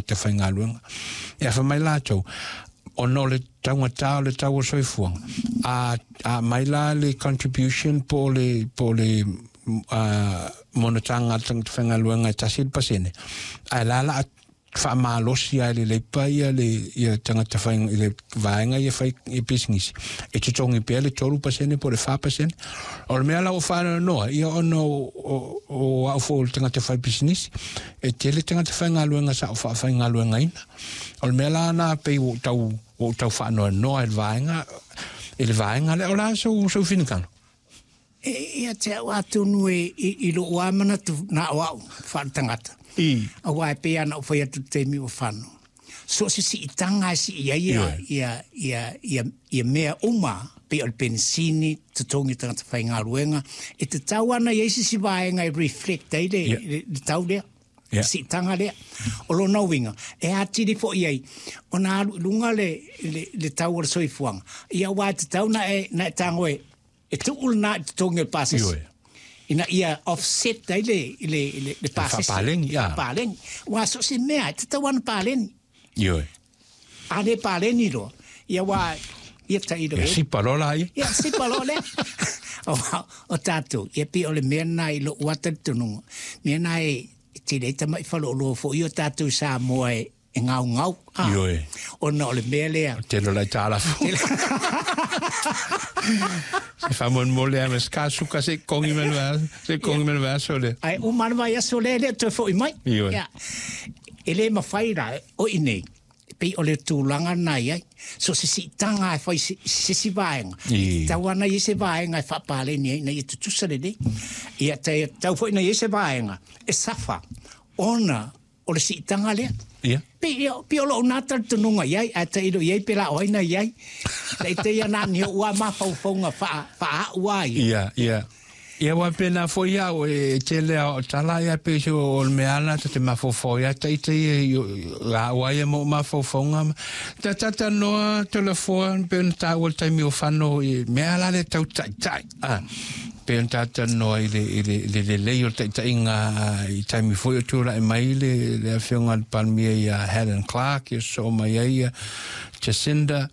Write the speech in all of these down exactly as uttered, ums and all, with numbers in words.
tagata faigaluega. E afa mai latou ona o le taugatā o le tau o soifuaga a a mai la le contribution po o le po o le uh, monotaga a le tagata faigaluega e tasi le pasene ae la la faamalosi ai le leipa ia le ia tagata fai i le vaega ia fai i pisinisi e totogi pea le tolu pasene po o le fa pasene. O le mea la ua faanoanoa ia ona o o au foi o le tagata fai pisinisi e tele tagata faigaluega sa o faafaigaluegaina. O le mea la na pei ua tau ua tau faanoanoa i le vaega i le vaega lea. O le a sou sou finagalo? E ia te au atonu e i, i lou a manatu na o au faaletagata. I. Auā e pei lava ona ou fai atu i le taimi ua fano. So o se siitaga e sii ai ia, ia, ia, ia, ia mea uma, pei o le penisini, totogi o tagata faigaluega, e tatau lava ona i ai se isi vaega e reflect ai le, Ia. le, le tau lea. Ia. Siitaga lea. O lona uiga, e atili foi ai ona alu i luga le, le, le tau o le soifuaga. Ia aua e tatau ona e, na e tago e, e tuu lena i totogi o le pasese. Ioe. Ina ia offset ai le, le, le, le pasese. Faapaleni, a. Faapaleni. Aua so o se mea, e tatau lava ona paleni. Ioe. A le paleni loa, ia aua ia tailo Ia e. sipa loa laia. Ia sipa loa lea. O, o tatou, ia pei o le mea lena i lou ata talitonuga. Mea lena e tele ai tama'i faleoloa foi o tatou i Samoa e, e gaugau. A, Ioe. Ona o le mea lea. Tele o le aitalafu. Se faamolemole lava ma se kasuka se i kogi mai le vaiaso, se i kogi mai le vaiaso lea. Ae uma lava le vaiaso lea e le o toe foi mai. Ioe. Ia, e le mafai la, o i nei, pei o le tulaga lena e i ai. So o se siitaga e fai i se isi vaega, I. e tatau lava ona i ai se vaega e faapaleni ai ina ia tutusa lelei. Ia, e tatau foi ona i ai se vaega e safa ona o le siitaga lea. Ia. Pei, ia, pei o lou na talitonuga i ai, ae tailo i ai pe la o ai na i ai. Taita ia na ni o'u lava mafaufauga faa, faa-a'u a ia. Ia, ia. Ia aua pēnā foi au e tele a o tala ia pei se o le mea ana ta te mafaufau ia taita ia i la ua ia mo mafaufauga ma ta tata noa Toleafoa pei ona taua i le taimi o fano i mea la le tau taitai a pei ona talanoa i le i le le lelei o le taitaiga i taimi foi o tulai mai le le afioga i le Palemia ia Helen Clark ia sosoo mai ai ia Jacinda.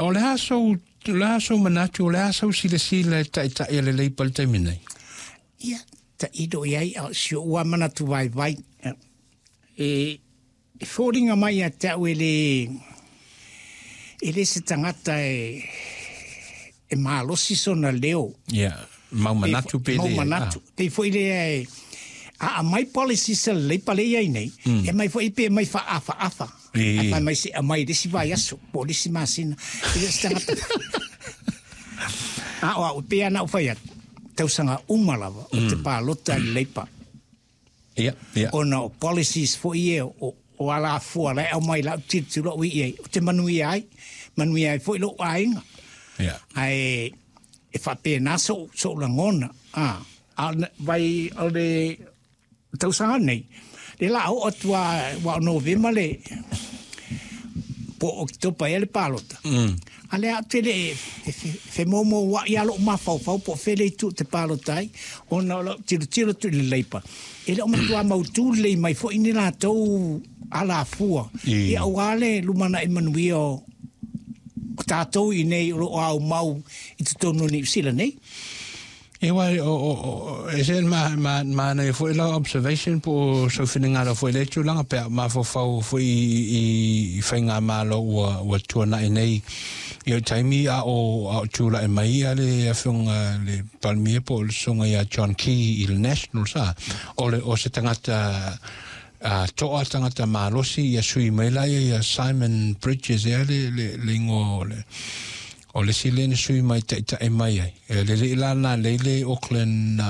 O le a sou O le a sou manatu, o le a sau silasila i le taitai a le Leipa i le taimi nei? Ia, tailo i ai, a o si ou lava manatu vaivai, e, e foliga mai ia te au e le, e le se tagata e, e malosi sona leo. Ia, mau manatu pe Mau le. manatu. Pei foi lea e, a aumai policies a le Leipa lea e i ai nei, Mm. e aumai foi pe aumai faaafaafa. I. Ae fai mai se aumai i le isi vaiaso po o le isi masina. E le o se tagata. A o au, e pei lava ona ou fai atu, tausaga uma lava ou te palota i le Leipa. Ia, ia. Ona o policies foi ia o, o alafua la e aumai i lau tilotilo au i ai, ou te manuia ai, manuia ai foi lou aiga. Ia. Ae e faapena sou, sou lagona. A, a o le vai o le tausaga nei, le la oo atu lava aua o Novema le po o Oketopa ea le palota. Mm. A lea ou te le e femoumoua'i lava lou mafaufau po o fea le itu ou te palota ai, ona o lau tilotilo atu i le Leipa, e le o matuā mautū lelei mai foi ni latou alafua, I. ia aua le lumanai manuia o o tatou i inei o lo o aumau i totonu o Niu Sila nei. E wai, o, o, o, e se ma, ma, manaia foi lau observation po o sou finagalo foi i lea tulaga pe a mafaufau foi i, i, i faigamalo ua, ua tuanai nei i o taimi a o, a o tulai mai ia le afioga le Palemia po o le Susuga ia John Key i le Nationals a, o le, o se tagata a toa tagata malosi ia sui mai la ia ia Simon Bridges ea le, le, le ingoa o le O le isi lea na sui mai taitai mai ai, e le alii la na lei le Auckland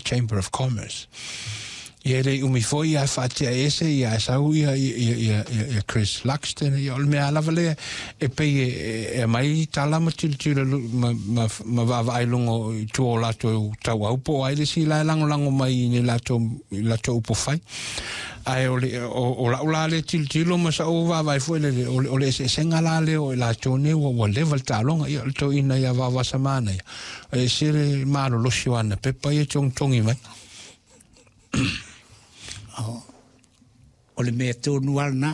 Chamber of Commerce. Ia e le i umi foi ia faatea ese ia e sau ia ia ia ia Chris Luxton ia o le mea lava lea e pei e e aumai tala ma tilotilo ma ma ma vaavaai i luga i tua o latou tauau po o ai le isi la e lagolago mai i ni latou i latou upufai. Ae o le, o, o la'u la lea tilotilo ma sa'u vaavaai foi lele, o le, o le eseesega la lea o i latou nei ua, ua leva le taaloga, ia, o le toeaina ia Vaovasamanaia, e ese le malolosi o ana pepa ia e togitogi mai. O le mea tonu lava lena.